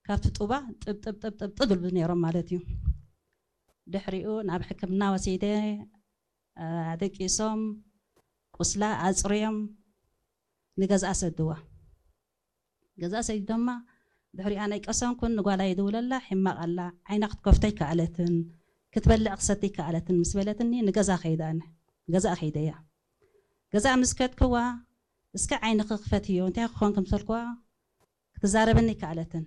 ካብቲ ጡባ ጥብጥብጥብጥብ ዝብሉ ነይሮም ማለት እዩ። ድሕሪኡ ናብ ሕክምና ወሲደ፣ ኣደቂሶም፣ ቁስላ ኣፅርዮም ንገዝኣ ሰድዋ። ገዛ ሰዲዶማ። ድሕሪኡ ኣነ ኣይቀሰንኩን፣ ንጓላ ይድውለላ፣ ሕማቕ ኣላ፣ ዓይና ክትከፍቶ ኣይከኣለትን፣ ክትበልዕ ክትሰቲ ኣይከኣለትን ምስ በለትኒ ንገዛ ከይደ ኣነ። ገዛ ከይደያ። ገዛ ምስ ከድክዋ፣ እስከ ዓይንኺ ክፈትዮ፣ እንታይ ክኾን ክምሰልክዋ ክትዛረበኒ ኣይከኣለትን።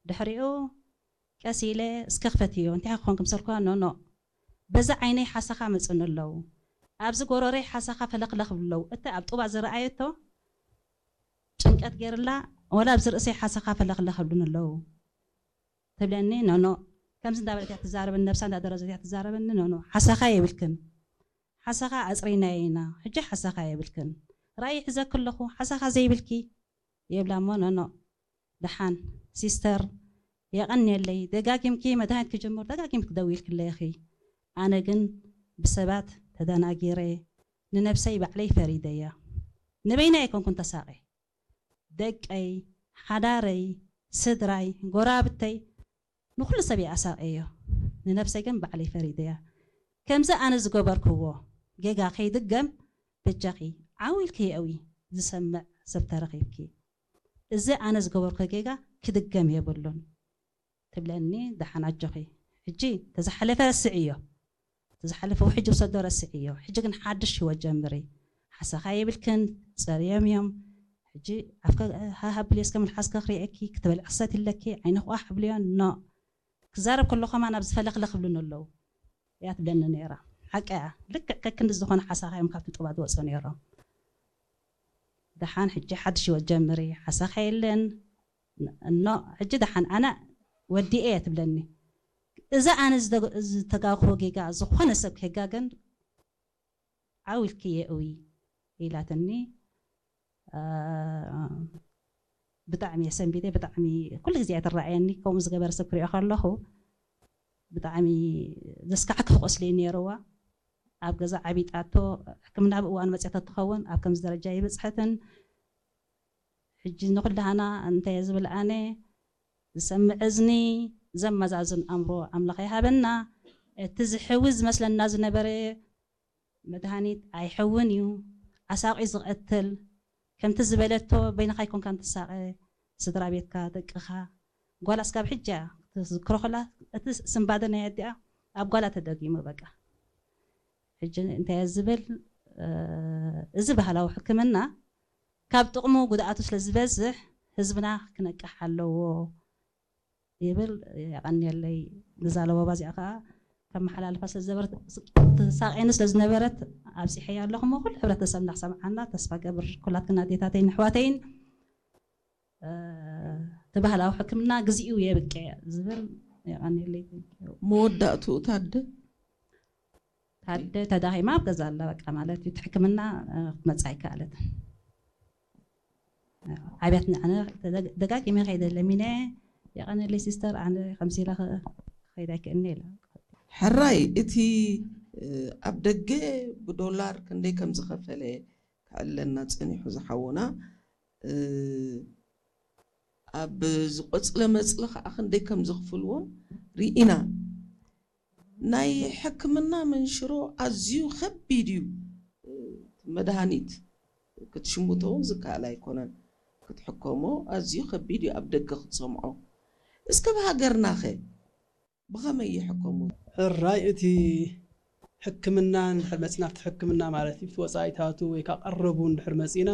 ድሕሪኡ ቀስ ኢለ እስከ ክፈትዮ፣ እንታይ ክኾን ክምሰልክዋ፣ ኖኖ፣ በዛ ዓይነይ ሓሳኻ መፅኒ ኣለዉ፣ ኣብዚ ጎረረይ ሓሳኻ ፈለኽለኽ ብለዉ፣ እቲ ኣብ ጡባ ዝረኣየቶ ጭንቀት ገይርላ፣ ወላ ኣብዚ ርእሰይ ሓሳኻ ፈለኽለኽ ብሉን ኣለዉ ትብለኒ። ኖኖ፣ ከምዚ እንዳበለት እያ ትዛረበኒ፣ ነብሳ እንዳደረዘት እያ ትዛረበኒ። ኖኖ፣ ሓሳኻ የብልክን፣ ሓሳኻ ኣፅሪናዮ ኢና፣ ሕጂ ሓሳኻ የብልክን፣ ራእይ ሒዘኪ ኣለኹ፣ ሓሳኻ ዘይብልኪ ይብላ። እሞ ኖኖ፣ ደሓን ሲስተር፣ የቐንየለይ፣ ደጋጊምኪ መድሃኒት ክጅምር ደጋጊምኪ ደዊልክለይ ኢኺ። ኣነ ግን ብሰባት ተደናጊረ፣ ንነብሰይ ባዕለይ ፈሪደያ። ንበይነይ ኣይኮንኩን ተሳቐ፣ ደቀይ፣ ሓዳረይ፣ ስድራይ፣ ጎራብተይ፣ ንኹሉ ሰብ እየ ኣሳቐዮ። ንነብሰይ ግን ባዕለይ ፈሪደያ። ከምዚ ኣነ ዝገበርክዎ ጌጋ ከይድገም በጃኺ ዓው ኢልኪ የእዊ፣ ዝሰምዕ ሰብ ተረኺብኪ። እዚ ኣነ ዝገበርኩ ጌጋ ክድገም የብሉን ትብለኒ። ደሓን ኣጆኺ፣ ሕጂ ተዝሓለፈ ረስዕዮ፣ ተዝሓለፈ ውሕጅ ውሰዶ ረስዕዮ። ሕጂ ግን ሓድሽ ህይወት ጀምሪ። ሓሳኻ የብልክን፣ ጸርዮም እዮም። ሕጂ ኣፍከ ሃሃ ብልዮ እስከ ምልሓስከ ክርእየኪ፣ ክትበልዕ ክሰት ይለኪ፣ ዓይንኺ ቋሕ ብልዮ፣ ኖ። ክዛረብ ከሎ ከማን ኣብዚ ፈለኽለኽ ይብሉኒ ኣለዉ። እያ ትብለኒ ነይራ። ሓቂ እያ። ልክዕ ከክንዲ ዝኾነ ሓሳኻ እዮም ካብቲ ጡባ ዝወፁ ነይሮም። ደሓን ሕጂ ሓድሽ ህይወት ጀምሪ፣ ሓሳኻ የለን። እኖ ሕጂ ደሓን ኣነ ወዲኤ እያ ትብለኒ። እዛ ኣነ ዝተጋግሆ ጌጋ ዝኾነ ሰብ ከጋገን ዓው ኢልኪ የእዊ ኢላትኒ። አ፣ ብጣዕሚ እየ ሰንቢደ፣ ብጣዕሚ ኩሉ ግዜ እያ ትረኣየኒ። ከምኡ ዝገበረ ሰብ ክሪኦ ከለኹ ብጣዕሚ ዘስካሕክሕ ቁስሊ እዩ ነይርዋ። ኣብ ገዛ ዓቢጣቶ፣ ሕክምና ብእዋኑ መፅያ ተትኸውን ኣብ ከምዚ ደረጃ ይበፅሐትን። ሕጂ ንኹላህና እንታይ እየ ዝብል ኣነ፣ ዝሰምዕ እዝኒ፣ ዘመዛዝን ኣእምሮ ኣምላኽ ይሃበና። እቲ ዝሕዊ ዝመስለና ዝነበረ መድሃኒት ኣይሕውን እዩ፣ ኣሳቒ ዝቐትል። ከምቲ ዝበለቶ በይንኻ ኣይኮንካን ትሳቐ፣ ስድራ ቤትካ፣ ደቅኻ። ጓላ እስካብ ሕጂ እያ ክትዝክሮ ከላ፣ እቲ ስንባደ ናይ ኣዲኣ ኣብ ጓላ ተደጊሙ በቃ። ሕጂ እንታይ እየ ዝብል፣ እ፣ እዚ ባህላዊ ሕክምና ካብ ጥቕሙ ጉድኣቱ ስለ ዝበዝሕ ህዝብና ክነቅሕ ኣለዎ ይብል። የቐንየለይ። ነዛ ለበዋ እዚኣ ከዓ ከመሓላልፋ ስለ ዝነበረት፣ ትሳቕየኒ ስለ ዝነበረት ኣብፂሐያ ኣለኹ። እሞ ኩሉ ሕብረተሰብና ክሰምዓና ተስፋ ገብር፣ ኩላትክን ኣዴታተይን ኣሕዋተይን፣ እ፣ እቲ ባህላዊ ሕክምና ግዚኡ የብቅዕ ዝብል። የቐንየለይ። መወዳእትኡ ታደ? ታደ ተዳኺማ ኣብ ገዛ ኣላ በቃ ማለት እዩ። እቲ ሕክምና፣ እ፣ ክትመጽእ ኣይከኣለትን። ኣብያት ንዕነ ተደግ-፣ ደጋጊመ ከይደ ለሚነ፣ የቐንየለይ ሲስተር፣ ኣነ ከምዚ ኢለ ኸ-፣ ክኸይድ ኣይክእልን ኢላ። ሕራይ፣ እቲ፣ እ፣ ኣብ ደገ ብዶላር ክንደይ ከም ዝኸፈለ ክዕለና ጸኒሑ ዝሓውና፣ እ፣ ኣብ ዝቆጽለ መጽሊ ኸዓ ክንደይ ከም ዝኽፍልዎም ርኢና። ናይ ሕክምና መንሽሮ ኣዝዩ ከቢድ እዩ። መድሃኒት ክትሽምቶ እውን ዝከኣል ኣይኮነን። ክትሕከሞ ኣዝዩ ከቢድ እዩ ኣብ ደገ ክትሰምዖ። እስከ ብሃገርናኸ ብኸመይ ይሕከሙ? ሕራይ እቲ ሕክምና እንድሕር መጺና ኣብቲ ሕክምና ማለት እዩ፣ ኣብቲ ወጻኢታቱ ወይ ከዓ ቀረቡ እንድሕር መጺና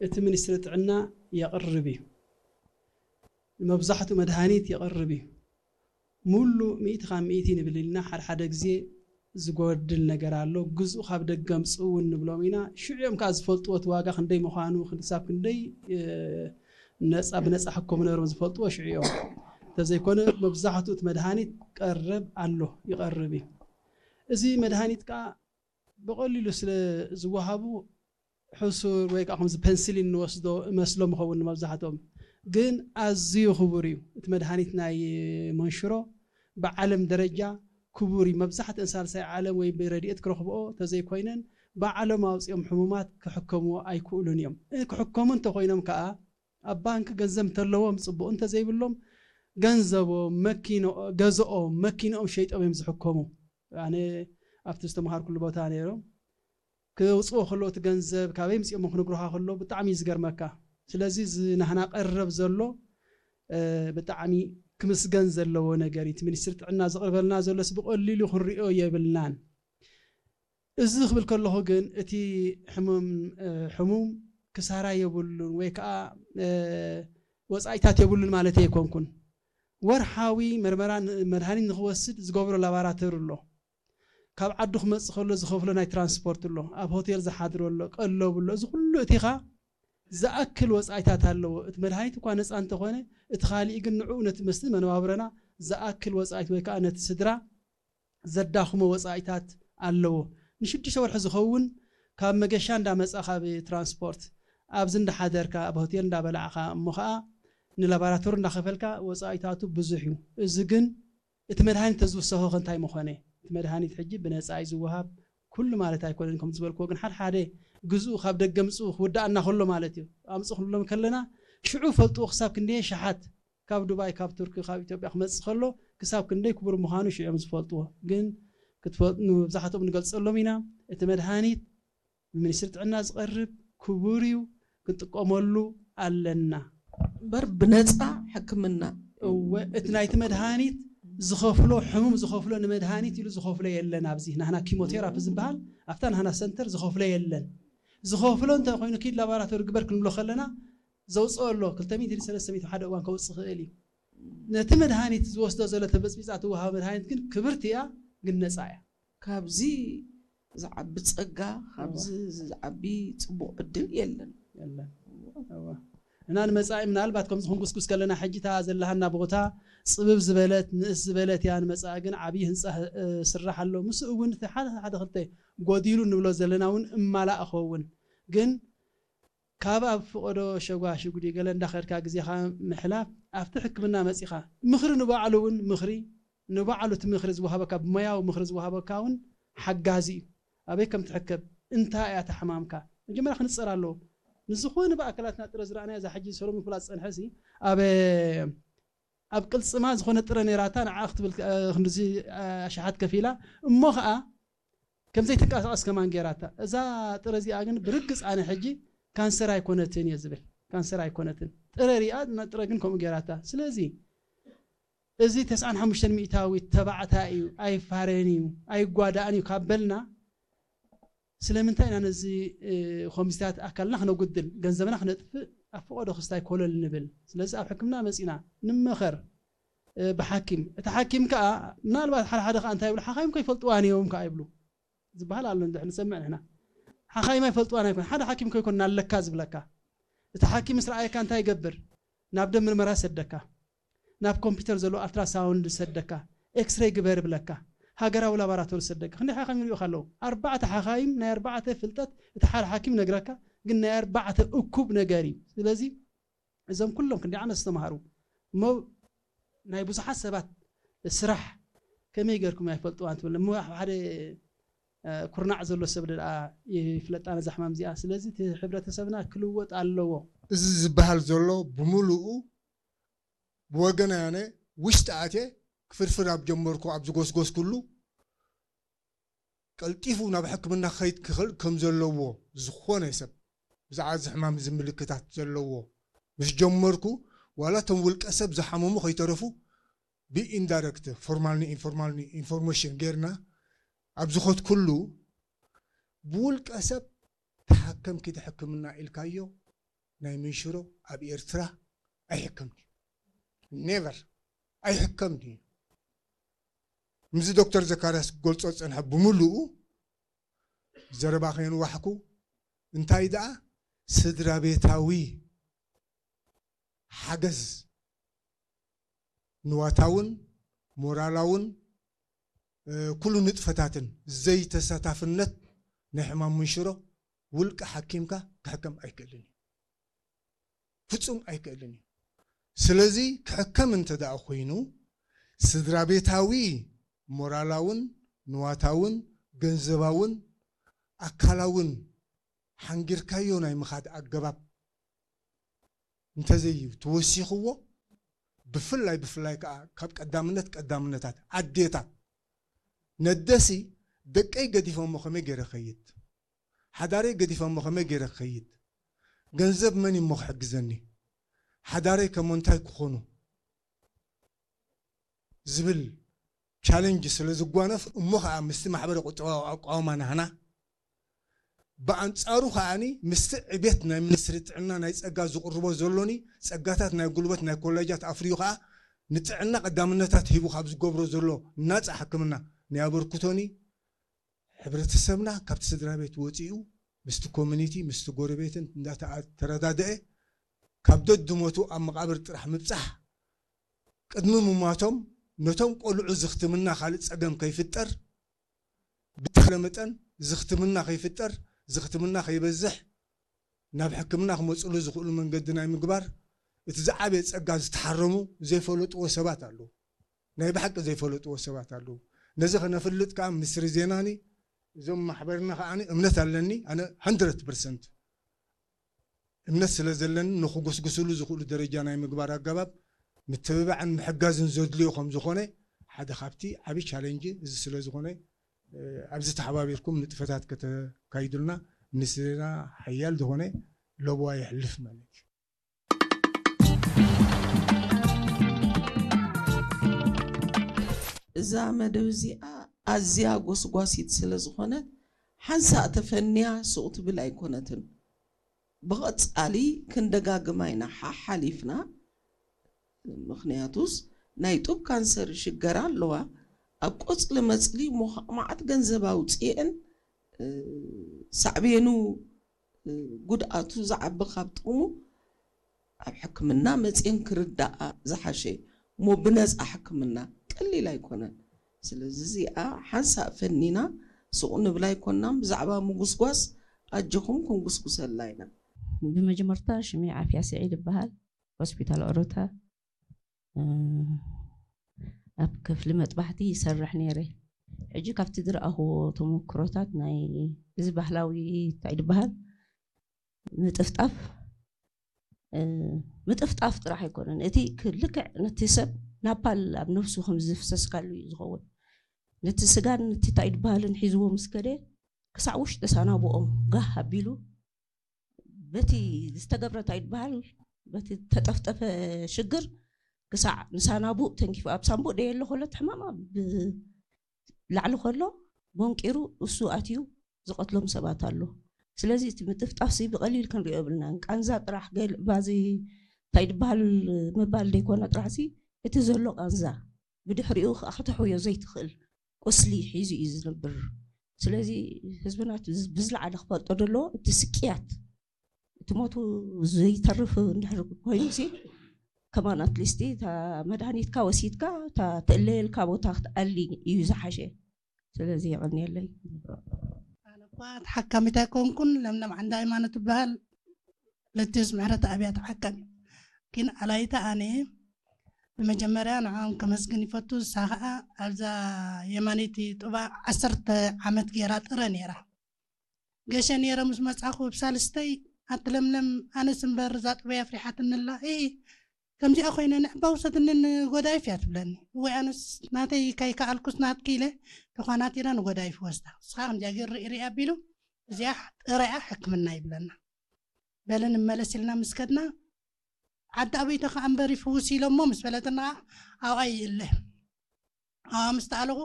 እቲ ሚኒስትሪ ጥዕና የቕርብ እዩ። ንመብዛሕትኡ መድሃኒት የቕርብ እዩ። ሙሉእ ሚእቲ ካብ ሚእቲ ንብል ኢልና ሓደ ሓደ ግዜ ዝጎድል ነገር ኣሎ። ግዝኡ ካብ ደገ ኣምጽኡ እውን ንብሎም ኢና። ሽዑ እዮም ከኣ ዝፈልጥዎ እቲ ዋጋ ክንደይ ምዃኑ፣ ክንሳብ ክንደይ፣ እ፣ ነጻ፣ ብነጻ ሕከሙ ነይሮም ዝፈልጥዎ ሽዑ እዮም። እንተዘይኮነ መብዛሕትኡ እቲ መድሃኒት ቀረብ ኣሎ፣ ይቐርብ እዩ። እዚ መድሃኒት ከኣ ብቐሊሉ ስለ ዝወሃቡ ሕሱር ወይ ከዓ ከምዚ ፐንስሊን ንወስዶ እመስሎም ይኸውን ንመብዛሕትኦም። ግን ኣዝዩ ክቡር እዩ። እቲ መድሃኒት ናይ መንሽሮ ብዓለም ደረጃ ክቡር እዩ። መብዛሕትአን ሳልሳይ ዓለም ወይ ብረድኤት ክረኽብኦ ተዘይኮይነን ባዕሎም ኣውፂኦም ሕሙማት ክሕከምዎ ኣይክእሉን እዮም። እ፣ ክሕከሙ እንተኾይኖም ከዓ ኣብ ባንክ ገንዘብ እንተለዎም ጽቡቕ፣ እንተዘይብሎም ገንዘቦም፣ መኪኖ-፣ ገዝኦም፣ መኪኖኦም ሸይጦም እዮም ዝሕከሙ። ኣነ ኣብቲ ዝተምሃርኩሉ ቦታ ነይሮም። ክውፅዎ ከሎ እቲ ገንዘብ ካበይ ምፅኦም ክንግሩኻ ከሎ ብጣዕሚ እዩ ዝገርመካ። ስለዚ እዚ ናህና ቀረብ ዘሎ፣ እ፣ ብጣዕሚ ክምስገን ዘለዎ ነገር እዩ። እቲ ሚኒስትሪ ጥዕና ዝቕርበልና ዘሎስ ብቐሊሉ ክንሪኦ የብልናን። እዚ ክብል ከለኹ ግን እቲ ሕሙም፣ እ፣ ሕሙም ክሳራ የብሉን ወይ ከዓ፣ እ፣ ወፃኢታት የብሉን ማለት ኣይኮንኩን። ወርሓዊ መርመራ ን-፣ መድሃኒት ንክወስድ ዝገብሮ ላባራቶሪ ኣሎ። ካብ ዓዱ ክመጽእ ከሎ ዝኸፍሎ ናይ ትራንስፖርት ኣሎ፣ ኣብ ሆቴል ዝሓድሮ ኣሎ፣ ቀለቡ ኣሎ። እዚ ኩሉ እቲኻ ዝኣክል ወጻኢታት ኣለዎ። እቲ መድሃኒት እኳ ነጻ እንተኾነ፣ እቲ ካሊእ ግን ንዕኡ ነቲ መስቲ መነባብሮና ዝኣክል ወጻኢት ወይ ከኣ ነቲ ስድራ ዘዳኽሞ ወጻኢታት ኣለዎ። ንሽዱሽተ ወርሒ ዝኸውን ካብ መገሻ እንዳመጻኻ ብትራንስፖርት፣ ኣብዚ እንዳሓደርካ፣ ኣብ ሆቴል እንዳበላዕኻ፣ እሞ ኸኣ ንላባራቶሪ እንዳኸፈልካ ወጻኢታቱ ብዙሕ እዩ። እዚ ግን እቲ መድሃኒት ተዝውሰኸ ከ እንታይ ምኾነ? እቲ መድሃኒት ሕጂ ብነጻ እዩ ዝወሃብ። ኩሉ ማለት ኣይኮነን፣ ከም ዝበልክዎ ግን ሓደ ሓደ ግዝኡ ካብ ደገ ምጽኡ ክውዳእና ከሎ ማለት እዩ። ኣምጽኡ ክንብሎም ከለና ሽዑ ፈልጥዎ ክሳብ ክንደየ ሸሓት ካብ ዱባይ፣ ካብ ቱርኪ፣ ካብ ኢትዮጵያ ክመጽእ ከሎ ክሳብ ክንደይ ክቡር ምዃኑ ሽዑ እዮም ዝፈልጥዎ። ግን ክትፈ-፣ ንመብዛሕትኦም ንገልጸሎም ኢና። እቲ መድሃኒት ብሚኒስትሪ ጥዕና ዝቐርብ ክቡር እዩ፣ ክንጥቀመሉ ኣለና። እምበር ብነጻ ሕክምና። እወ፣ እቲ ናይቲ መድሃኒት ዝኸፍሎ፣ ሕሙም ዝኸፍሎ፣ ንመድሃኒት ኢሉ ዝኸፍሎ የለን። ኣብዚ ናህና ኪሞቴራፒ ዝበሃል፣ ኣብታ ናህና ሰንተር ዝኸፍሎ የለን። ዝኸፍሎ እንተ ኮይኑ፣ ኪድ ላባራቶሪ ግበር ክንብሎ ከለና፣ ዘውፅኦ ኣሎ። ክልተ ሚእቲ ሰለስተ ሚእቲ ሓደ እዋን ከውፅእ ይኽእል እዩ። ነቲ መድሃኒት ዝወስዶ ዘሎ ተበፅቢፃ ትወሃብ መድሃኒት ግን ክብርቲ እያ፣ ግን ነፃ እያ። ካብዚ ዝዓቢ ጸጋ፣ ካብዚ ዝዓቢ ጽቡቕ ዕድል የለን። የለን። እወ። እና ንመጻኢ ምናልባት ከምዚ ክንጉስጉስ ከለና፣ ሕጂ እታ ዘለሃና ቦታ ጽብብ ዝበለት፣ ንእስ ዝበለት እያ። ንመጻኢ ግን ዓብዪ ህንጻ፣ እ፣ ስራሕ ኣሎ። ምስኡ እውን እቲ ሓደ፣ ሓደ ክልተ ጎዲሉ ንብሎ ዘለና እውን እማላእ ክኸውን። ግን ካብ ኣብ ፍቐዶ ሸጓሽጉዲ ገለ እንዳኸድካ ግዜኻ ምሕላፍ፣ ኣብቲ ሕክምና መጺኻ ምኽሪ ንባዕሉ እውን ምኽሪ፣ ንባዕሉ እቲ ምኽሪ ዝወሃበካ፣ ብሞያዊ ምኽሪ ዝወሃበካ እውን ሓጋዚ እዩ። ኣበይ ከም ትሕከብ፣ እንታይ እያ እታ ሕማምካ፣ መጀመርያ ክንጸር ኣለዎ። ንዝኾነ ብኣካላትና ጥረ ዝረኣናዮ፣ እዛ ሕጂ ሰሎሙን ክብላ ዝጸንሐ ሲ፣ ኣብ፣ ኣብ ቅልጽማ ዝኾነ ጥረ ነይራታ፣ ንዓ ክትብል፣ እ፣ ክንድዚ፣ እ፣ ኣሽሓት ከፊላ፣ እሞ ኸኣ ከም ዘይትንቀሳቐስ ከማን ገይራታ። እዛ ጥረ እዚኣ ግን ብርግጽ ኣነ ሕጂ ካንሰር ኣይኮነትን እየ ዝብል። ካንሰር ኣይኮነትን። ጥረ ሪኣ፣ እና ጥረ ግን ከምኡ ገይራታ። ስለዚ እዚ ተስዓን ሓሙሽተን ሚእታዊት ተባዕታይ እዩ፣ ኣይፋረን እዩ፣ ኣይጓዳእን እዩ ካብ በልና፣ ስለምንታይ ኢና ነዚ፣ እ፣ ኮምቢታት ኣካልና ክነጉድል፣ ገንዘብና ክነጥፍእ፣ ኣብ ፈቐዶ ክስታይ ኮለል ንብል? ስለዚ ኣብ ሕክምና መጺና ንመኸር፣ እ፣ ብሓኪም። እቲ ሓኪም ከኣ ምናልባት ሓደ ሓደ ከኣ እንታይ ይብሉ፣ ሓኻይም ከይፈልጥዋን እዮም ከኣ ይብሉ። ዝበሃል ኣሎ፣ እንድሕር ንሰምዕ ንሕና። ሓኻይም ኣይፈልጥዋን ኣይኮን። ሓደ ሓኪም ከይኮን ኣለካ ዝብለካ። እቲ ሓኪም ምስ ረኣየካ እንታይ ይገብር? ናብ ደም ምርመራ ይሰደካ። ናብ ኮምፒውተር ዘሎ ኣልትራሳውንድ ይሰደካ። ኤክስሬይ ግበር ይብለካ። ሃገራዊ ላባራቶሪ ይሰደካ። ክንደይ ሓኻይም ይሪኡኻ ኣለዉ? ኣርባዕተ ሓኻይም፣ ናይ ኣርባዕተ ፍልጠት፣ እቲ ሓደ ሓኪም ይነግረካ፣ ግን ናይ ኣርባዕተ እኩብ ነገር እዩ። ስለዚ እዞም ኩሎም ክንደይ ዓመት ዝተምሃሩ እሞ ናይ ብዙሓት ሰባት ስራሕ ከመይ ገርኩም ኣይፈልጥዋን ትብል እሞ ኣብ ሓደ፣ እ፣ ኩርናዕ ዘሎ ሰብ ደኣ ይፍለጣ ነዛ ሕማም እዚኣ። ስለዚ እቲ ሕብረተሰብና ክልወጥ ኣለዎ። እዚ ዝበሃል ዘሎ ብምሉኡ ብወገን ኣነ ውሽጢ ኣትየ ክፍርፍር ኣብ ጀመርኩ፣ ኣብ ዝጎስጎስኩሉ ቀልጢፉ ናብ ሕክምና ክኸይድ ክኽእል ከም ዘለዎ፣ ዝኾነ ሰብ ብዛዕባ እዚ ሕማም እዚ ምልክታት ዘለዎ ምስ ጀመርኩ፣ ዋላ እቶም ውልቀ ሰብ ዝሓመሙ ከይተረፉ ብኢንዳይረክት፣ ፎርማልን ኢንፎርማልን ኢንፎርሜሽን ጌርና ኣብ ዝኸድኩሉ፣ ብውልቀ ሰብ ተሓከም ኪድ ሕክምና ኢልካዮ ናይ ምንሽሮ ኣብ ኤርትራ ኣይሕከምን እዩ። ኔቨር ኣይሕከምን እዩ። ምስዚ ዶክተር ዘካርያስ ክገልጾ ዝጸንሐ ብምሉኡ ዘረባ ከየንዋሕኩ፣ እንታይ ደኣ ስድራ ቤታዊ ሓገዝ ንዋታውን ሞራላውን፣ እ፣ ኩሉ ንጥፈታትን ዘይተሳታፍነት ናይ ሕማም ምንሽሮ ውልቀ ሓኪምካ ክሕከም ኣይክእልን እዩ። ፍጹም ኣይክእልን እዩ። ስለዚ ክሕከም እንተ ደኣ ኮይኑ ስድራ ቤታዊ ሞራላውን ንዋታውን ገንዘባውን ኣካላውን ሓንጊርካዮ ናይ ምኻድ ኣገባብ እንተዘይዩ ተወሲኽዎ፣ ብፍላይ ብፍላይ ከዓ ካብ ቀዳምነት ቀዳምነታት ኣዴታት፣ ነደሲ ደቀይ ገዲፈሞ ከመይ ገይረ ክኸይድ፣ ሓዳረይ ገዲፈሞ ከመይ ገይረ ክኸይድ፣ ገንዘብ መን እሞ ክሕግዘኒ፣ ሓዳረይ ከሞ እንታይ ክኾኑ ዝብል ቻለንጅ ስለ ዝጓነፍ፣ እሞ ከዓ ምስቲ ማሕበረ ቁጠባዊ ኣቋውማ ናህና፣ ብኣንጻሩ ከዓኒ ምስቲ ዕቤት ናይ ሚኒስትሪ ጥዕና ናይ ጸጋ ዝቕርቦ ዘሎኒ ጸጋታት ናይ ጉልበት ናይ ኮሌጃት ኣፍርዩ ከዓ ንጥዕና ቀዳምነታት ሂቡ ካብ ዝገብሮ ዘሎ ናጻ ሕክምና ናይ ኣበርክቶኒ፣ ሕብረተሰብና ካብቲ ስድራ ቤት ወጺኡ ምስቲ ኮሚኒቲ ምስቲ ጎረቤትን እንዳተረዳደአ ካብ ደድሞቱ ኣብ መቓብር ጥራሕ ምብጻሕ፣ ቅድሚ ምሟቶም ነቶም ቆልዑ ዝኽትምና ካልእ ጸገም ከይፍጠር፣ ብተኽለ መጠን ዝኽትምና ከይፍጠር፣ ዝኽትምና ከይበዝሕ፣ ናብ ሕክምና ክመጽሉ ዝኽእሉ መንገዲ ናይ ምግባር፣ እቲ ዝዓበየ ጸጋ ዝተሓረሙ ዘይፈለጥዎ ሰባት ኣለዉ። ናይ ብሓቂ ዘይፈለጥዎ ሰባት ኣለዉ። ነዚ ከነፍልጥ ከኣ ሚኒስትሪ ዜናኒ እዞም ማሕበርና ከኣ እምነት ኣለኒ። ኣነ ሃንድረድ ፐርሰንት እምነት ስለ ዘለኒ ንኽጉስጉስሉ ዝኽእሉ ደረጃ ናይ ምግባር ኣገባብ ምትብባዕን ምሕጋዝን ዘድልዮ ከም ዝኾነ ሓደ ካብቲ ዓቢ ቻሌንጅ እዚ ስለ ዝኾነ፣ እ፣ ኣብዚ ተሓባቢርኩም ንጥፈታት ከተካይዱልና ሚኒስትሪና ሓያል ዝኾነ ለበዋ የሕልፍ ማለት እዩ። እዛ መደብ እዚኣ ኣዝያ ጎስጓሲት ስለ ዝኾነት ሓንሳእ ተፈንያ ሱቕ ትብል ኣይኮነትን። ብቐጻሊ ክንደጋግማ ኢና ሓሓሊፍና። ምኽንያቱስ ናይ ጡብ ካንሰር ይሽገራ ኣለዋ። ኣብ ቆጽሊ መጽሊ እሞ ከዓ መዓት ገንዘብ ኣውፅኤን፣ እ፣ ሳዕቤኑ፣ እ፣ ጉድኣቱ ዝዓቢ ካብ ጥቕሙ ኣብ ሕክምና መፅኤን ክርዳኣ ዝሓሸ እሞ ብነፃ ሕክምና ቀሊል ኣይኮነን። ስለዚ እዚኣ ሓንሳእ ፈኒና ሱቕ ንብላ ኣይኮናን። ብዛዕባ ምጉስጓስ ኣጆኹም ክንጉስጉሰላ ኢና። ብመጀመርታ ሽመይ ዓፍያ ስዒድ ይበሃል። ሆስፒታል ኦሮታ፣ እ፣ ኣብ ክፍሊ መጥባሕቲ ይሰርሕ ነይረ። ሕጂ ካብቲ ዝረኣኽዎ ተመክሮታት ናይ እዚ ባህላዊ እንታይ ዝበሃል ምጥፍጣፍ፣ እ፣ ምጥፍጣፍ ጥራሕ ኣይኮነን። እቲ ክ-፣ ልክዕ ነቲ ሰብ ናፓል ኣብ ነፍሱ ከም ዝፍሰስካሉ እዩ ዝኸውን። ነቲ ስጋን ነቲ እንታይ ዝበሃልን ሒዝዎ ምስ ከደ ክሳዕ ውሽጢ ሳናብኦም ጋህ ኣቢሉ በቲ ዝተገብረ እንታይ ይበሃል በቲ ተጠፍጠፈ ሽግር ክሳዕ ንሳናቡእ ተንኪፉ ኣብ ሳንቡእ ደየለ ኮለት ሕማም ኣብ ላዕሊ ከሎ ቦንቂሩ እሱ ኣትዩ ዝቐትሎም ሰባት ኣሎ። ስለዚ እቲ ምጥፍጣፍሲ ብቐሊል ክንሪኦ የብልናን። ቃንዛ ጥራሕ ገል ባዚ እንታይ ዝበሃል ምባል ደይኮነ ጥራሕሲ እቲ ዘሎ ቃንዛ ብድሕሪኡ ከዓ ክትሕውዮ ዘይትኽእል ቁስሊ ሒዙ እዩ ዝነብር። ስለዚ ህዝብና ብዝለዓለ ክፈልጦ ዘለዎ እቲ ስቅያት እቲ ሞቱ ዘይተርፍ እንድሕር ኮይኑሲ ከማን ኣትሊስቲ እታ መድሃኒትካ ወሲድካ እታ ትእለየልካ ቦታ ክትኣሊ እዩ ዝሓሸ። ስለዚ የቐንየለይ። ኣነ እኳ ተሓካሚት ኣይኮንኩን። ለምለም ዓንደ ሃይማኖት ትበሃል። ለቴስ ምሕረት ኣብያ ተሓካሚ ግን ኣላይታ ኣነ ብመጀመርያ ንዕኦም ከመስግን ይፈቱ። እሳ ኸዓ ኣብዛ የማነይቲ ጡባ ዓሰርተ ዓመት ገይራ ጥረ ነይራ። ገሸ ነይረ ምስ መጻኹ ብሳልስተይ ኣቲ ለምለም ኣነስ እምበር እዛ ጡበይ ኣፍሪሓትኒ ኣላ። እ ከምዚኣ ኮይነ ንዕባ ውሰድኒ ንጎዳይፍ እያ ትብለኒ። እወይ ኣነስ ናተይ ከይከኣልኩስ ናትኪ ኢለ ተዃናቲረ ንጎዳይፍ ወስዳ። ንስኻ ከምዚኣ ገይሩ ርኢ ርኢ ኣቢሉ እዚኣ ጥረያ ሕክምና ይብለና። በሊ ንመለስ ኢልና ምስ ከድና ዓዲ ኣበይቶ ከኣ እምበር ይፍውስ ኢሎሞ ምስ በለትና ኣብኣ ይእለ። ኣብኣ ምስ ተኣለኹ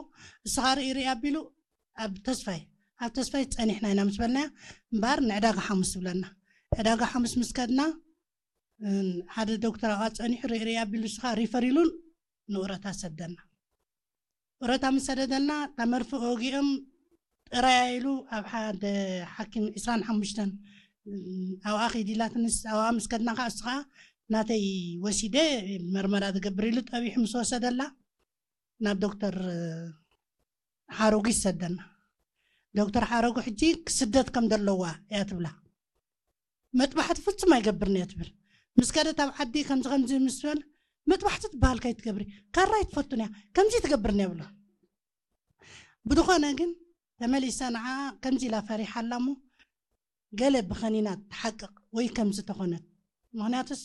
እስኻ ርኢ ርኢ ኣቢሉ ኣብ ተስፋይ ኣብ ተስፋይ ጸኒሕና ኢና ምስ በልናያ እምበኣር ንዕዳጋ ሓሙስ ትብለና። ዕዳጋ ሓሙስ ምስ ከድና ሓደ ዶክተር ኣብኣ ጸኒሑ ርኢ ርኢ ኣቢሉ እስኻ ሪፈር ኢሉ ንኡረታ ሰደና። ኡረታ ምስ ሰደደልና እታ መርፍእ ወጊኦም ጥራያ ኢሉ ኣብ ሓደ ሓኪም ዕስራን ሓሙሽተን ኣብኣ ኺድ ኢላትንስ ኣብኣ ምስ ከድና ከዓ እሱ ከዓ ናተይ ወሲደ መርመራ ዝገብር ኢሉ ጠቢሑ ምስ ወሰደላ ናብ ዶክተር ሓረጉ ይሰደና። ዶክተር ሓረጉ ሕጂ ክስደት ከም ዘለዋ እያ ትብላ። መጥባሕቲ ፍጹም ኣይገብርን እየ ትብል። ምስ ከደት ኣብ ዓዲ ከምዚ ከምዚ ምስ በል መጥባሕቲ ትበሃል ከይትገብሪ ካራ ኣይትፈቱን እያ ከምዚ ትገብርን እየ ብሎ። ብድኾነ ግን ተመሊሰ ንዓ ከምዚ ኢላ ፈሪሓ ኣላ እሞ ገለ ብኸኒና ትሓቅቕ ወይ ከምዚ ተኾነት ምኽንያቱስ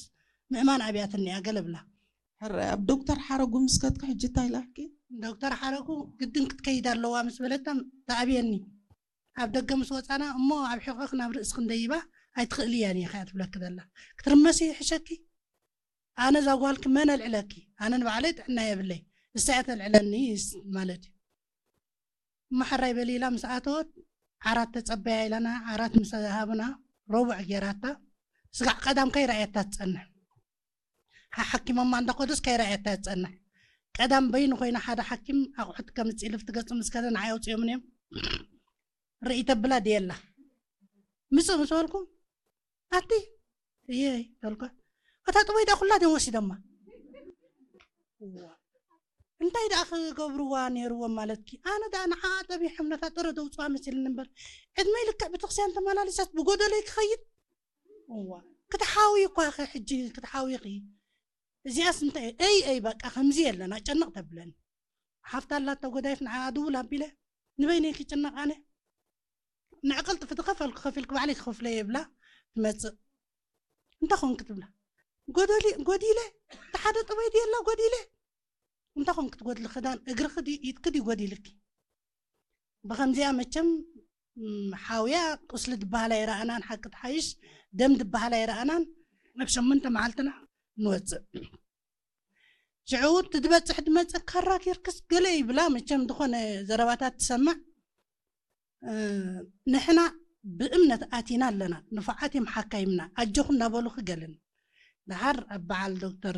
ምእማን ኣብያትኒ እያ ገለ ብላ። ሕራይ ኣብ ዶክተር ሓረጉ ምስ ከድኪ ሕጂ እንታይ ኢላኪ? ዶክተር ሓረጉ ግድን ክትከይድ ኣለዋ ምስ በለታ ተኣብየኒ። ኣብ ደገ ምስ ወፃና እሞ ኣብ ሕቆክ ናብ ርእስክ እንደይባ ኣይትኽእልያን ኢኻ እያ ትብለኪ ዘላ። ክትርመሲ ይሕሸኪ። ኣነ እዛ ጓልኪ መን ኣልዕለኪ? ኣነ ንባዕለይ ጥዕና የብለይ፣ ንሳ እያ ተልዕለኒ ማለት እዩ። እሞ ሕራይ በሊ ኢላ ምስ ኣተወት ዓራት ተጸበያ ኢላና፣ ዓራት ምስ ሃብና ረቡዕ ጌራታ። ስጋዕ ቀዳም ከይረኣየታ ትጸንሕ። ሓሓኪሞማ እንዳኸዱስ ከይረኣየታ ትጸንሕ። ቀዳም በይኑ ኮይና ሓደ ሓኪም ኣቑሑት ከምጽእ ኢሉ ኣብቲ ገጹ ምስ ከደ ንዓይ ኣውጺኦምን እዮም። ርእይ ተብላ ድየላ። ምጽእ ምስ በልኩ ኣቲ እየ ተልኳ። እታ ጥበይ ደኣ ኩላ ድዮም ወሲዶማ። እዋ። እንታይ ደኣ ክገብርዋ ነይርዎም ማለትኪ? ኣነ ደኣ ንዓኣ ጠቢሖም ነታ ጥረ ደውፅዋ መሲልኒ እምበር ዕድመይ ልክዕ ቤተክርስትያን ተመላሊሳት ብጎደለይ ክኸይድ? እዋ። ክትሓዊ እኳ ኸ ሕጂ ክትሓዊ ኺ? እዚኣስ እንታይ እይ እይ በቃ ከምዚ የለና ጨንቕ ተብለኒ። ሓፍታ ኣላቶ ጎዳይፍ ንዓኣ ድውል ኣቢለ ንበይነይ ክጭነቕ ኣነ። ንዕቕልጥፊ ዝኸፈልኩ ከፊልኩ ባዕለይ ክኸፍሎ እየ ይብላ ትመፅእ። እንታይ ኾንክ ትብላ? ጎደሊ ጎዲለ፣ እቲ ሓደ ጥበይ ድየላ ጎዲለ። እንታይ ኾንክ ትጎድሊ? ክዳን እግርኺ ድዩ ኢድኪ ድዩ ጎዲልኪ? ብኸምዚኣ መቸም ሓውያ ቁስሊ ድበሃል ኣይረኣናን፣ ሓቂ ትሓይሽ ደም ድበሃል ኣይረኣናን። ኣብ ሸሞንተ መዓልትና ንወፅእ። ሽዑ እቲ ዝበፅሕ ድመፀ ካራ ጌርክስ ገለ ይብላ። መቸም ዝኾነ ዘረባታት ትሰምዕ። ንሕና ብእምነት ኣቲና ኣለና፣ ንፉዓት እዮም ሓካይምና፣ ኣጆኹ እናበሉኺ ገለን። ደሓር ኣብ በዓል ዶክተር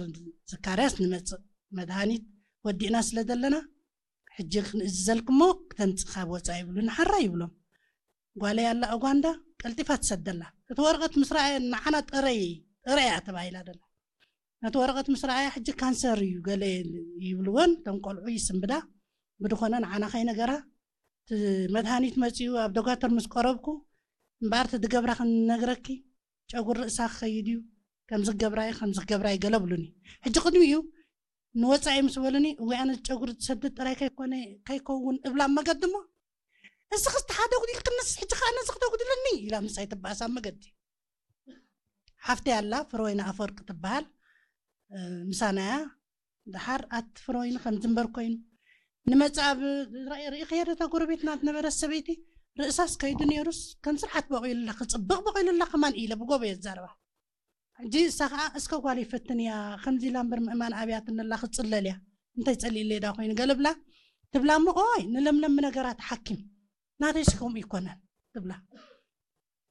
ዘካርያስ ንመፅእ፣ መድሃኒት ወዲእና ስለ ዘለና ሕጂ ክንእዝዘልክሞ ክተምፅእ ካብ ወፃኢ ይብሉ። ንሓራ ይብሎም። ጓለይ ኣላ ኡጋንዳ ቀልጢፋ ትሰደላ። እቲ ወረቐት ምስ ረኣየ ንዓና ጥረይ ጥረያ ተባሂላ ደላ። ነቲ ወረቐት ምስ ረኣያ ሕጂ ካንሰር እዩ ገለ ይብልወን እቶም ቆልዑ ይስንብዳ። ብድኾነ ንዓና ከይነገራ እቲ መድሃኒት መፂኡ ኣብ ዶጋተር ምስ ቀረብኩ እምበኣር እቲ ድገብራ ክንነግረኪ ጨጉር ርእሳ ክኸይድ እዩ ከምዚ ክገብራ እዩ ከምዚ ክገብራ እዩ ገለ ብሉኒ። ሕጂ ቅድሚኡ ንወፃኢ ምስ በሉኒ እወ ኣነ ጨጉሪ ዝሰድድ ጥራይ ከይኮነ ከይከውን እብላ ኣብ መገዲ እሞ እዚ ክስቲ ሓደ ጉዲል ክንስ ሕጂ ከዓ ነዚ ክተጉድለኒ ኢላ ምሳይ ትበኣስ ኣብ መገዲ። ሓፍተይ ኣላ ፍረወይኒ ኣፈወርቂ ትበሃል። ምሳናያ ደሓር ኣቲ ፍረወይኒ ከምዚ እምበር ኮይኑ ንመፅእ ኣብ ርእኽያ ዶ እታ ጎረቤትና ዝነበረት ሰበይቲ ርእሳስ ከይዱ ነይሩስ ከም ስርዓት በቂሉላ ክፅብቕ በቂሉላ ከማን ኢለ ብጎበ የዛረባ። ሕጂ እሳ ከዓ እስከ ጓል ይፈትን እያ ከምዚ ኢላ እምበር ምእማን ኣብያትኒ ኣላ ክፅለል እያ እንታይ ፀሊእለይ ዳ ኮይኑ ገለ ብላ ትብላ እሞ ኦይ ንለምለም ነገራት ሓኪም ናተይሲ ከምኡ ይኮነን ትብላ።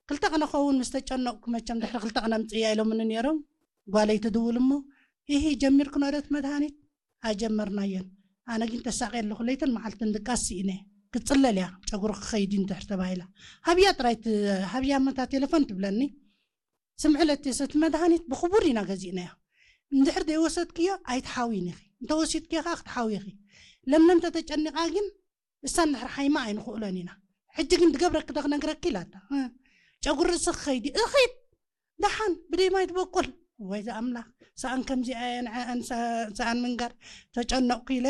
ክልተ ቅነ ኸውን ምስ ተጨነቕኩ መቸም ድሕሪ ክልተ ቅነ ምፅእያ ኢሎምኒ ነይሮም። ጓለይ ትድውል እሞ ኢሂ ጀሚርክኖ ዶ እቲ መድሃኒት? ኣጀመርናዮን። ኣነ ግን ተሳቒየ ኣለኹ ለይትን መዓልትን ድቃስ ስኢነ። ክትፅለል እያ ጨጉሪ ክኸይድ እዩ እንድሕር ተባሂላ። ሃብያ ጥራይ ት- ሃብያ መታ ቴሌፎን ትብለኒ። ስምዒ ለቴስ እቲ መድሃኒት ብኽቡር ኢና ገዚእናዮ። እንድሕር ዘይወሰድክዮ ኣይትሓውይን ኢኺ። እንተወሲድክዮ ከዓ ክትሓውይ ኢኺ። ለምለም ተተጨኒቓ ግን እሳ እንድሕር ሓይማ ኣይንኽእሎን ኢና። ሕጂ ግን ድገብረኪ ዶ ክነግረኪ ኢላታ። እ፣ ጨጉሪ ርእሲ ክኸይድ እዩ። እኺድ ደሓን ብደይ ማይ ትበቁል። ወይ ዝኣምላኽ ሰኣን ከምዚኣ እየ ንዐአን ሰ- ሰኣን ምንጋር ተጨነቕኩ ኢለ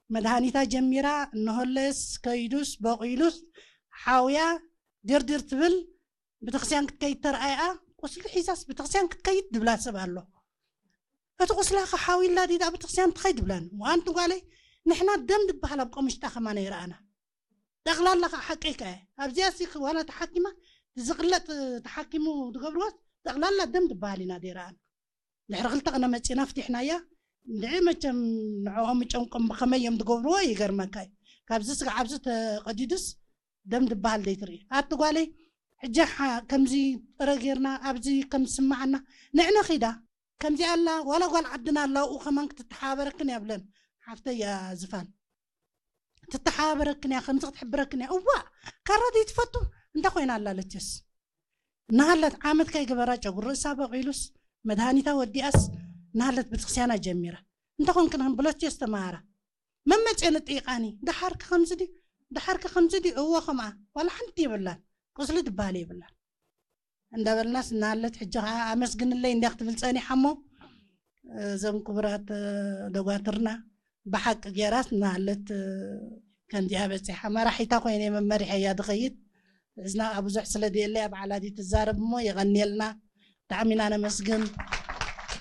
መድሃኒታ ጀሚራ እነሆለስ ከይዱስ በቒሉስ ሓውያ ድርድር ትብል። ቤተክርስትያን ክትከይድ ተረኣያ ቁስሊ ሒዛስ ቤተክርስትያን ክትከይድ ድብላ ሰብ ኣሎ። እቲ ቁስላ ከሓዊላ ዲዳ ቤተክርስትያን ትኸይድ ድብላን ዋንቲ ጓለይ ንሕና ደም ድበሃል ኣብ ቆምሽጣ ከማነ ይረኣና። ጠቕላላ ከዓ ሓቀይ ከ ኣብዚኣ ሲ ዋላ ተሓኪማ ዝቕለጥ ተሓኪሙ ዝገብርዎስ ጠቕላላ ደም ዝበሃል ኢና ዘይረኣና። ድሕሪ ክልተ ቅነ መፂና ፍቲሕናያ። እንድዒ መቸም ንዕኦም ጨንቆም ብኸመይ እዮም ዝገብርዎ ይገርመካ እዩ። ካብዚ ስጋዕ ኣብዚ ተቐዲዱስ ደም ዝበሃል ዘይትርኢ ኣቲ ጓለይ። ሕጂ ሓ- ከምዚ ጥረ ጌርና ኣብዚ ከም ዝስማዓና ንዕነ ኺዳ ከምዚ ኣላ ዋላ ጓል ዓድና ኣላ ኣብኡ ከማን ክትተሓባበረክን እያ ብለን ሓፍተይ እያ ዝፋን ትተሓባበረክን እያ ከምዚ ክትሕብረክን እያ እዋ ካራ ዘይትፈቱ እንታይ ኮይና ኣላ ለቸስ እናሃለት ዓመት ከይገበራ ጨጉሪ ርእሳ በቂሉስ መድሃኒታ ወዲኣስ እናሃለት ቤተክርስትያና ጀሚራ እንታይ ኮንክን ብሎቸስ ተማሃራ መመፅኦ ንጥይቃኒ ደሓርኪ ከምዚ ድዩ ደሓርኪ ከምዚ ድዩ እዎ ከምኣ ዋላ ሓንቲ የብላን ቁስሊ ድበሃል የብላን እንዳበልናስ እናሃለት ሕጂ ከዓ ኣመስግንለይ እንዲያ ክትብል ፀኒሓ እሞ እዞም ክቡራት ደጓትርና ብሓቂ ገይራስ እናሃለት ከምዚኣ በፂሓ መራሒታ ኮይነ መመሪሐያ ድኸይድ እዝና ከዓ ብዙሕ ስለ ድየለይ ኣብ ዓላዲ ትዛረብ እሞ የቐንየልና ብጣዕሚ ኢና ነመስግን